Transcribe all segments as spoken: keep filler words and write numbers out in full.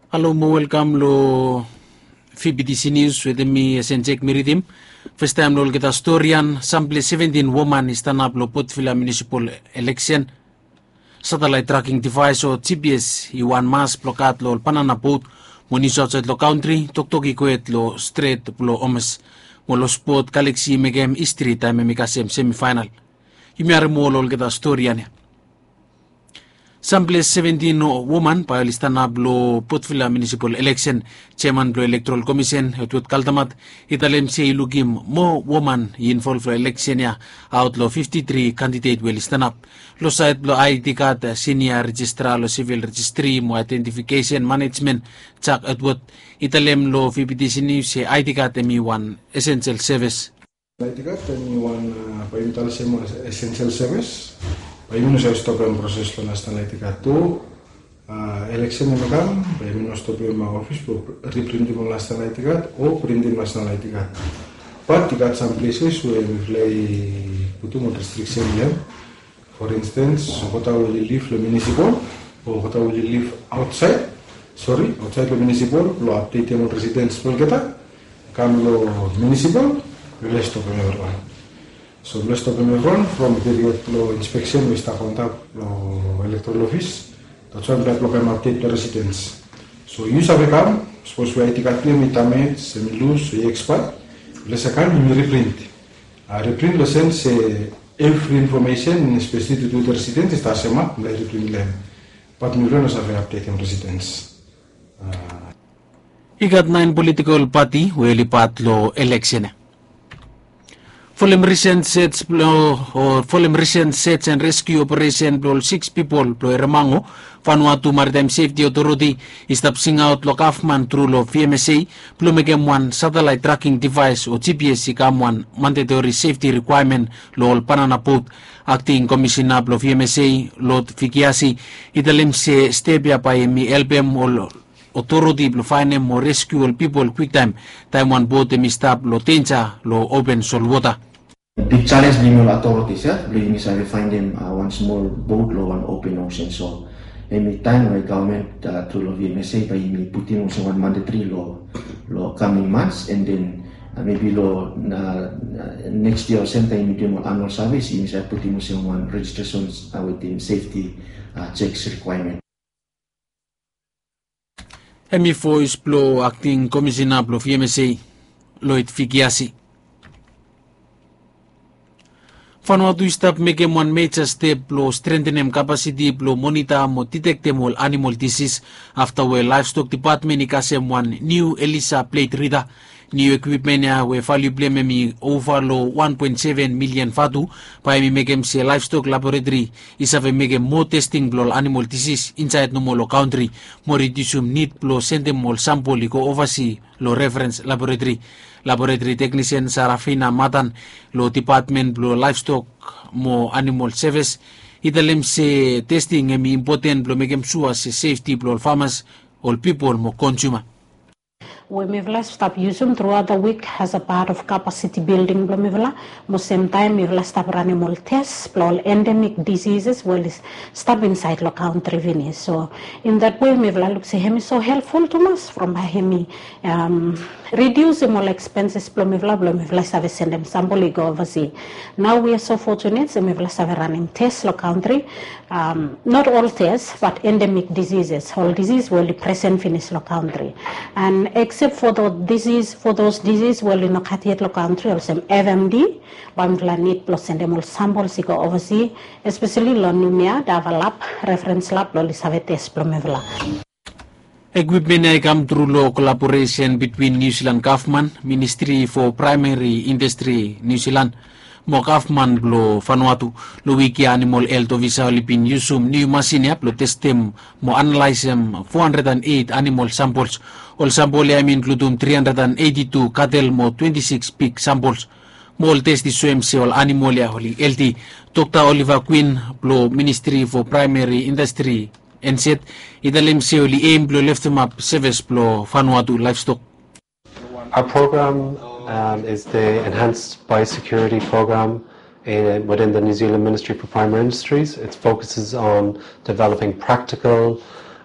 Halo mo welkam lo V B T C News wetem mi, Esen Jek Miridim. Festaem lo olgeta storian, samples seventin woman i stanap lo Port Vila Municipal Election. Satellite tracking device o G P S i wan mas blo gat lo ol banana boat mo nius aotsaed lo kantri, toktok i gohed lo Stret blo Hormuz. Mo lo spot, Galaxy i mekem histri taem hemi kasem semifaenal. Yumi harem moa lo olgeta storian ya. Samples seventin woman bae oli stanap lo Port Vila Municipal Election. Jeaman blo Electoral Commission, Edward Kaldamat, i talem se i lukim moa woman i involv lo election ya aot lo fifti tri kandidet we oli stanap. Lo saed blo I D card, Senior Registrar lo Civil Registry mo Identification Management, Jack Edward, i talem lo V B T C News se I D card hemi wan essential service. National I D card hemi wan, bae yumi talem se wan essential service. Bae yumi no save stopem proses lo National I D card tu. Election hemi kam, bae yumi no stopem ofis blo riprintim ol National I D card o printim National I D card. Bat i gat sam places we mifala i putum ol restriction lo hem. For instance, olgeta we oli liv lo municipal o olgeta we oli liv aotsaed, sori, aotsaed lo municipal, blo apdetem ol residence blo olgeta, kam lo municipal, mifala i stopem evriwan. So mifala i stopem evriwan from period blo inspection we i stap antap lo electoral office. That's why mifala i blok hem apdet blo residence. So yu save kam, sapos we I D card blo yu hemi damage, hemi lus o i expire, mifala save kam yumi reprint. Reprint lo sens se evri information, especially tu tu residence, i stap sem ap, mifala i reprint lo hem. Bat mifala no save apdetem residence. I gat naen politikol pati we oli pat lo election ya. Folem recent search blo, o folem recent search and rescue operation blo ol siks pipol blo Eremang o Vanuatu Maritime Safety Authority i stap singaot lo gavman tru lo V M S A blo mekem wan satellite tracking device o G P S i kam wan mandatory safety requirement lo ol banana boat. Acting Commissioner blo V M S A, Lord Fikiasi, i talem se step ya bae hemi helpem ol otoriti blo faenem o reskiu ol pipol kwiktaem taem wan boat hemi stap lo denja lo open solwota. Big challenge blo yumi ol authorities ya, blo yumi save faenem wan smol boat lo wan open ocean. So hemi taem we gavman tru lo V M S A bae yumi putim olsem wan mandatory lo, lo coming months, and then maybe lo next year o sem taem yumi duim ol annual service, yumi save putim olsem wan registration wetem safety checks requirement. Hemi voes blo Acting Commissioner blo V M S A, Lloyd Fikiasi. Vanuatu i stap mekem wan meja step blo strengthenem capacity blo monitor mo detectem ol animal disease afta we Livestock Department i kasem wan niu ELISA blade reader. Niu equipment ya we value blo hem hemi ova lo wan poen seven milian vatu, bae hemi mekem se Livestock Laboratory i save mekem moa testing blo ol animal disease insaed nomo lo kantri, mo ridiusum nid blo sendem ol sampol i go ovasi lo referens laboratory. Laboratory technician Sarafina Matan lo Department blo Livestock mo Animal Service i talem se testing hemi impoten blo mekem sua se safety blo ol farmers, ol pipol mo consumer. We mifala stap yusum throughout the week as a part of capacity building blo mifala, mo sem taem mifala stap ranem ol test blo ol endemic diseases we oli stap insaed lo kantri finis. So in that way mifala luk se hemi so helpful tumas from bae hemi ridiusim ol expenses blo mifala, blo mifala save sendem sampol i go ovasi. Nao we are so fortunate se mifala save ranem test lo kantri. Not all test, but endemic diseases, ol disease we oli presen finis lo kantri. And except for the disease, for those disease we oli no gat yet lo kantri, olsem F M D, bae mifala nid blo sendem ol samples i go ovasi, especially lo Noumea, Dava Lab, referens lab, blo oli save test blo mifala. Ekwipmen ya i kam tru lo kolaboresen bitwin Niu Silan gavman, Ministri fo Praemeri Indastri Niu Silan mo gavman blo Vanuatu. Lo wik ya animal helt ofisa oli bin yusum niu masin ya blo testem mo analaesem fo handred an eit animal sampols. Ol sampol ya hem i inkludum tri handred an eiti tu katel mo twenti sikis pig sampols. Mo ol test i soem se ol animal ya oli helti. Dokta Oliver Quinn blo Ministri fo Praemeri Indastri, N Z, i talem se oli eim blo leftemap sevis blo Vanuatu Livestock. Our program is the Enhanced Biosecurity Program within the New Zealand Ministry for Primary Industries. It focuses on developing practical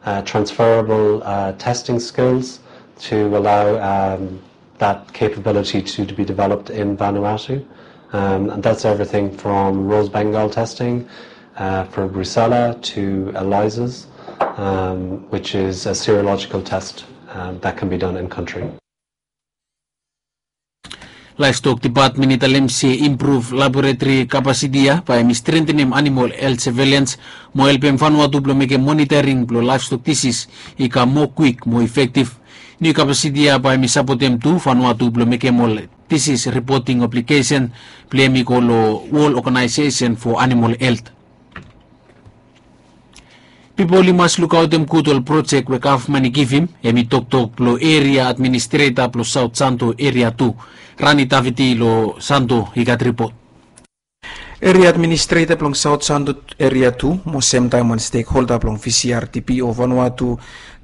uh, transferable uh, testing skills to allow um, that capability to, to be developed in Vanuatu. Um, and that's everything from Rose Bengal testing uh, for Brucella to ELISAs, um, which is a serological test um, that can be done in country. Laevstok depatmen i talem se impruv laboretri kapasiti ya bae hemi strentenem animol helt sevelians mo helpem Vanuatu blong mekem monitoring blong laevstok disis i kam moa kwik mo efektiv. Niu kapasiti ya bae hemi sapotem tu Vanuatu blong mekem ol disis ripoting aplikesen blong hem i go long Wol Oganaesesen fo Animol Helt. Pipol i mas lukaotem gud ol projek we gavman i givim. Hemi toktok blong eria administreta blong Saot Santo Eria Tu, Rani Daviti long Santo i gat ripot. Eria administreta blong Saot Santo Eria Tu mo semtaem wan stekholda blong VCRTP o Vanuatu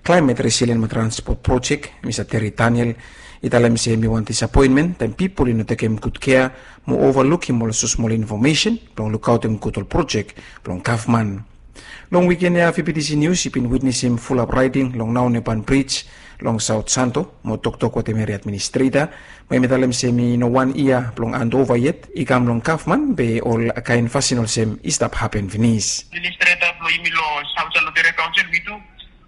Klaemet Resilien mo Transpot Projek, Mista Terry Daniel, i talem se hemi wan disapoenmen taem pipol i no tekem gud kea mo ovalukim ol smosmol infomesen blong lukaotem gud ol projek blong gavman. Long wiken ya VBTC Nius i bin witnesem fulap raeding long Naoneban Brij long Saot Santo mo toktok wetem eria administreta, mo hemi talem se hemi no wan yia blong andova yet i kam long gavman be ol kaen fasin olsem i stap hapen finis. Administreta blong yumi long Saot Santo Eria Kaonsel, wi tu,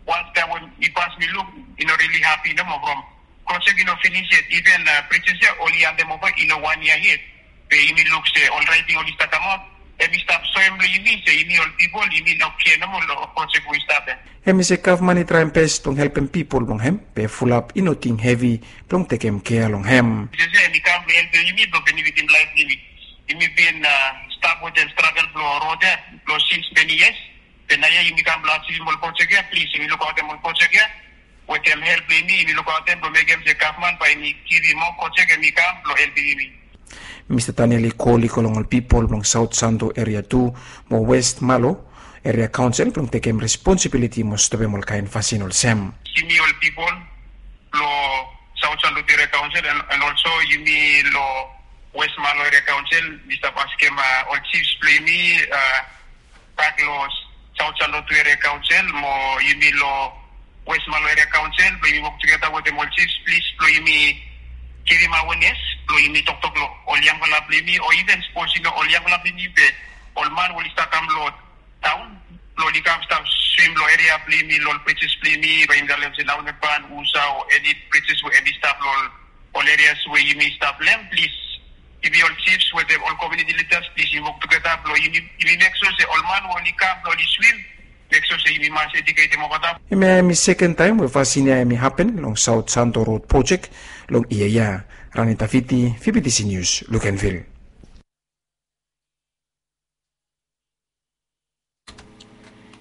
wantaem we mi pas mi luk, i no rili hapi nomo from projek i no finis yet. Iven brijis ya oli andem ova i no wan yia yet. Be yumi luk se ol raeting oli stap kamaot, hemi stap soem long yumi se yumi ol pipol yumi no kea nomo long projek we i stap ya. Hemi se gavman i traem bes blong helpem pipol blong hem, be fulap i no ting hevi blong tekem kea long hem. Brijis ya hemi kam blong helpem yumi blong benefitim laef blong yumi. Yumi bin stap wetem stragel blong rod ya blong sins meni yias. Be naoia yumi kam blong asivim ol projek ya, plis yumi lukaotem ol projek ya wetem help blong yumi, yumi lukaotem blong mekem se gavman bae hemi givim moa projek hemi kam blong helpem yumi. Mista Daniel i kol i go long ol pipol blong Saot Santo Eria Tu mo West Malo Eria Kaonsel blong tekem responsibiliti mo stopem ol kaen fasin olsem. Yumi ol pipol blong Saot Santo Eria Kaonsel and, and also yumi long West Malo Eria Kaonsel, mi stap askem ol jifs blong yumi bak long Saot Santo Eria Kaonsel mo yumi long West Malo Eria Kaonsel blong yumi wok tugeta wetem ol jifs plis blong yumi givim awenes blong yumi toktok long ol yangfala blong yumi o iven sapos i no ol yangfala blong yumi be ol man we oli stap kam long taon blong oli kam stap swim long eria blong yumi long ol brijis blong yumi bae yumi talem se Naoneban, Usa o eni brijis we hemi stap long ol erias we yumi stap long hem, plis yumi ol jifs wetem ol komuniti lidas plis yumi wok tugeta blong yumi mek sua se ol man we oli kam blong oli swim, mek sua se yumi mas ejuketem olgeta. Hemia hemi seken taem we fasin ya hemi hapen long Saot Santo Rod Projek long yia ya. Rani Daviti, VBTC Nius, Lukenvil.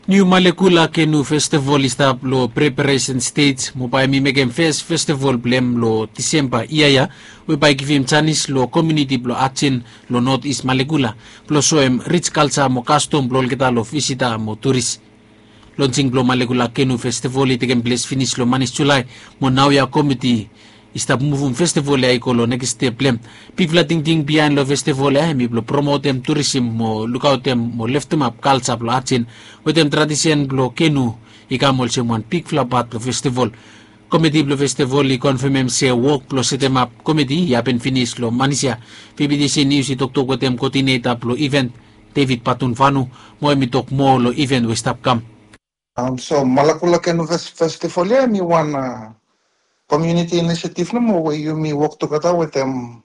Niu Malekula Kenu Festival i stap long preparesen stej mo bae hemi mekem fes festival blong hem long Disemba yia ya, we bae i givim janis long komuniti blong Ajen long Not Is Malekula blong soem rij kalja mo kastom blong olgeta long visita mo turis. Lonsing blong Malekula Kenu Festival i tekem ples finis long manis Julae, mo naoia komiti i stap muvum festival ya i go long nekis step blong hem. Bigfala tingting biaen long festival ya hemi blong promotem turisim mo lukaotem mo leftemap kalja blong Ajen wetem tradisen blong kenu i kam olsem wan bigfala pat blong festival. Komiti blong festival i konfemem se wok blong setemap komiti i hapen finis long manis ya. VBTC Nius i toktok wetem koodineta blong iven, David Patunvanu, mo hemi tok moa long iven we i stap kam. So Malakula Kenu Festival ya hemi wan komuniti inisiativ nomo we yumi wok tugeta wetem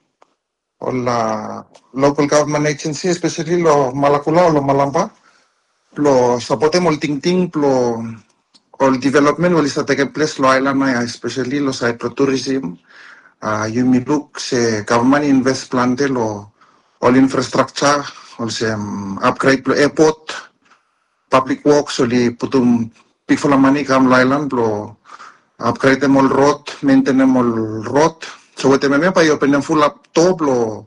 ol lokal gavman ejensi, espeseli long Malakula o long Malampa, blong sapotem ol tingting blong ol developmen we oli stap tekem ples long aelan ya, espeseli long saed blong turisim. Yumi luk se gavman i inves plante long ol infrastrakja olsem apgred blong epot, pablik woks oli putum bigfala mane i kam long aelan blong apgredem ol rod, mentenem ol rod. So wetem hemia bae i openem fulap doa blong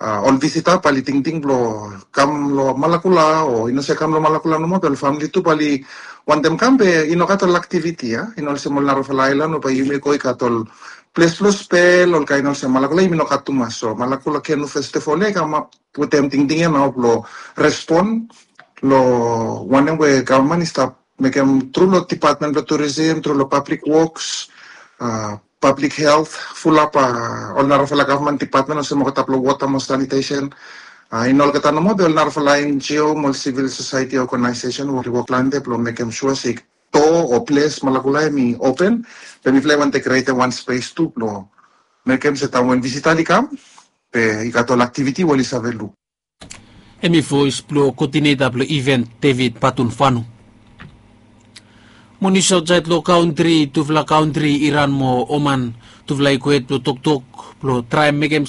ol visita bae oli tingting blong kam long Malakula o i no save kam long Malakula nomo be ol famili tu bae oli wantem kam be i no gat ol aktiviti ya, i no olsem ol narafala aelan we bae yumi go i gat ol ples blong spel, ol kaen olsem. Malakula yumi no gat tumas. So Malakula Kenu Festival ya i kamap wetem tingting ya nao blong respon long wanem we gavman i stap mekem tru long dipatmen blong turisim, tru long pablik woks, pablik helt, fulap ol narafala gavman dipatmen olsem olgeta blong wota mo sanitesen. I no olgeta nomo be ol narafala enjio mo ol sivil sosaeti ogenaisesen we oli wok plante blong mekem sua se do o ples malakula em i open. Be mifala i wante krietem wan spes tu blong mekem se taem wen visita oli kam be i gat ol aktiviti we oli save luk. Em i voes blong koodineta blong iven, David Patunfanu. Mo nius aotsaed long kantri, tufala kantri Iran mo Oman, tufala i go hed blong toktok blong traem mekem